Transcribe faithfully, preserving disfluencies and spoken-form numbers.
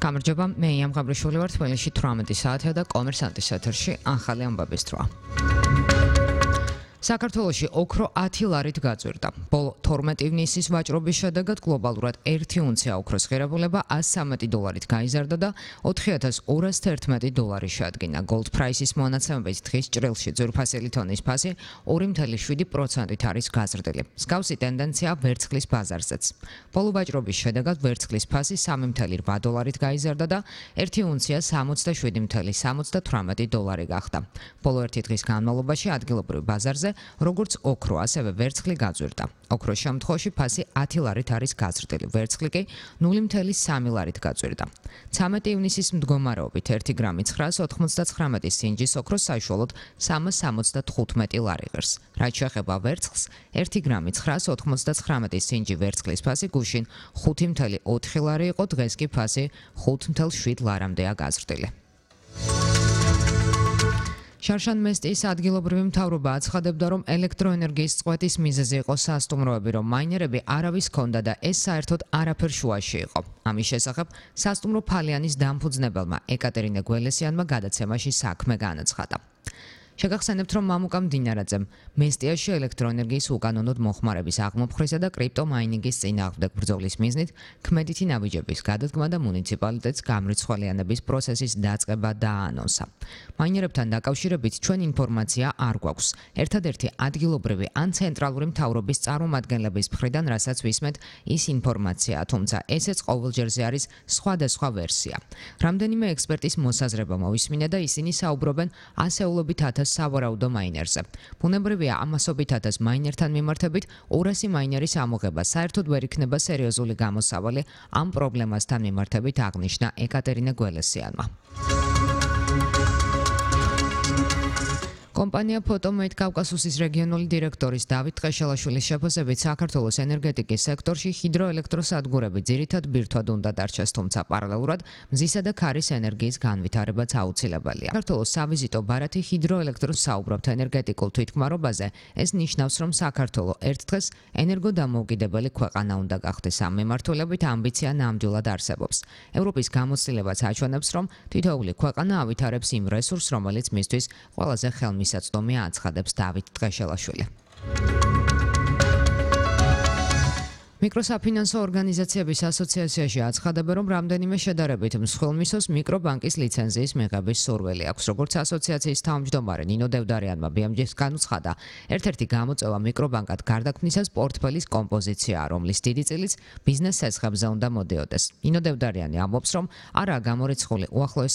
გამარჯობა, მე ია მღაბრიშვილი ვარ, თბილისში თვრამეტი საათია და კომერსანტის ეთერში ახალი ამბების დროა. საქართველოში ოქრო ათი ლარით გაძვირდა. ბოლო თორმეტი ივნისის ვაჭრობის შედეგად გლობალურად ერთი უნცია ოქროს ღირებულება ას სამი დოლარით გაიზარდა და ოთხი ათას ორას თერთმეტი დოლარი შეადგინა. Gold Price-ის მონაცემებით დღის ჭრილში ძვირფასი თონის ფასი ორი ცентი შვიდი პროცენტით არის გაზრდილი. მსგავსი ტენდენცია ვერცხლის ბაზარზეც. ბოლო ვაჭრობის შედეგად ვერცხლის ფასი სამი ცენტი რვა დოლარით გაიზარდა და ერთი უნცია სამოცდაშვიდი ცენტი სამოცდათვრამეტი დოლარი გახდა. ბოლო ერთი დღის განმავლობაში ადგილობრივ ბაზარზე როგორც ოქრო, ასევე ვერცხლი გაძვირდა. ოქროს შემთხვევაში ფასი ათი ლარით არის გაზრდილი, ვერცხლი კი ნული ცენტი სამი ლარით გაძვირდა. ცამეტი ივნისის მდგომარეობით ერთი გრამი ცხრაას ოთხმოცდათხრამეტი სინჯის ოქროს საშუალოდ სამას სამოცდათხუთმეტი ლარი ღირს. რაც შეეხება ვერცხლს, ერთი გრამი ცხრაას ოთხმოცდათხრამეტი სინჯი ვერცხლის ფასი გუშინ ხუთი ცენტი ოთხი ლარი იყო, დღეს კი ფასი ხუთი ცენტი შვიდ ლარამდეა გაზრდილი. შარშან მესტიის ადგილობრივი მთავრობა აცხადებდა, რომ ელექტროენერგიის წყვეტის მიზეზი იყო სასტუმროები, რომ მაინერები არავის ჰქონდა და ეს საერთოდ არაფერ შუაში იყო. ამის შესახებ სასტუმრო ფალიანის დამფუძნებელმა ეკატერინე გველესიანმა გადაცემაში საქმე განაცხადა. შეგახსენებთ, რომ მამუკა მდინარაძემ მესტიაში ელექტროენერგიის უკანონოდ მოხმარების აღმოფხვრისა და კრიპტომაინინგის წინააღმდეგ ბრძოლის მიზნით ქმედითი ნაბიჯების გადადგმა და მუნიციპალიტეტს გამრიცხვენების პროცესის დაწყება დააანონსა. მაინერებთან დაკავშირებით ჩვენ ინფორმაცია არ გვაქვს. ერთადერთი ადგილობრივი ან ცენტრალური მთავრობის წარმომადგენლების მხრიდან, რასაც ვისმენთ, ის ინფორმაციაა, თუმცა ესეც ყოველჯერზე არის სხვადასხვა ვერსია. რამდენიმე ექსპერტის მოსაზრება მოვისმინე და ისინი საუბრობენ ასეულობით ათას სავარაუდო მაინერზე. ბუნებრივია, ამასობით ათას მაინერთან მიმართებით ორასი მაინერის ამოღება საერთოდ ვერ იქნება სერიოზული გამოსავალი ამ პრობლემასთან მიმართებით, აღნიშნა ეკატერინე გველესიანმა. კომპანია Photomate კავკასუსის რეგიონული დირექტორის დავით ტყეშელაშვილის შეფასებით, საქართველოს ენერგეტიკის სექტორში ჰიდროელექტროსადგურები ძირითად ბირთვად უნდა დარჩეს, თუმცა პარალელურად მზისა და ქარის ენერგიის განვითარებაც აუცილებელია. საქართველოს სავიზიტო ბარათი ჰიდროელექტროს საუბრობთ ენერგეტიკულ თვითქმარობაზე, ეს ნიშნავს, რომ საქართველო ერთ დღეს ენერგოდამოუკიდებელი ქვეყანა უნდა გახდეს. ამ მიმართულებით ამბიცია ნამდვილად არსებობს. ევროპის გამოცდილებაც აჩვენებს, რომ თითოეული ქვეყანა ავითარებს იმ რესურსს, რომელიც მისთვის ყველაზე ხელმისაწვდომია, აცხადებს დავით ტყეშელაშვილი. მიკროსაფინანსო ორგანიზაციების ასოციაციაში აცხადებენ, რომ რამდენიმე შედარებით მსხვილმისოს მიკრობანკის ლიცენზიის მიღების სურვილი აქვს. როგორც ასოციაციის თავმჯდომარე ნინო დევდარიანმა ბი ემ ჯი-ს განუცხადა, ერთ-ერთი გამოწვევა მიკრობანკად გარდაქმნისას პორტფელის კომპოზიციაა, რომლის დიდი წილიც ბიზნეს ცეცხლებზე უნდა მოდიოდეს. ნინო დევდარიანი ამბობს, რომ არაა გამორიცხული უახლოეს